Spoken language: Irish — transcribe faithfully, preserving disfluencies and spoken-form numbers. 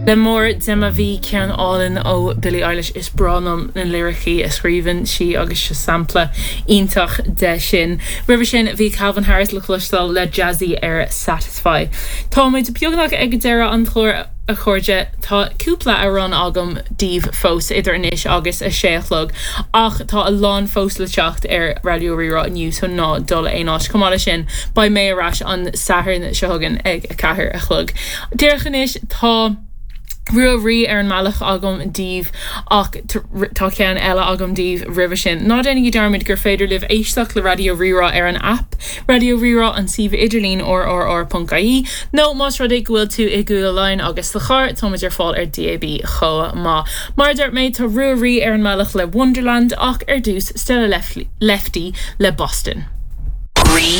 Le mór de ma bhí ceann álainn ó Billie Eilish is breá liom na liricí a scríobhann sí agus seo sampla iontach de sin. Roimhe sin bhí Calvin Harris le cloisteáil le Jazzy ar Satisfy. Táimid beagnach ag deireadh an chláir a chairde tá cúpla amhrán agam daoibh fós idir anois agus a sé a chlog ach tá a lán fós le teacht ar Raidió Rí-Rá inniu so ná dul aon áit chomh maith leis sin beidh mé ar ais an Satharn seo chugainn ag a ceathair a chlog. Díreach anois tá Rua Rí ar an mbealach agam daoibh ach tá ceann eile agam daoibh roimhe sin. Ná déanaigí dearmad gur féidir libh éisteacht le Raidió Rí-Rá ar an app Raidió Rí-Rá an suíomh idirlín rrr.ie nó más rud é go bhfuil tú i gCúige Laighean agus sa charr táimid ar fáil ar DAB chomh maith. Mar dúirt mé tá Rua Rí ar an mbealach le Wonderland ach ar dtús Stella Lefty le Boston. Rí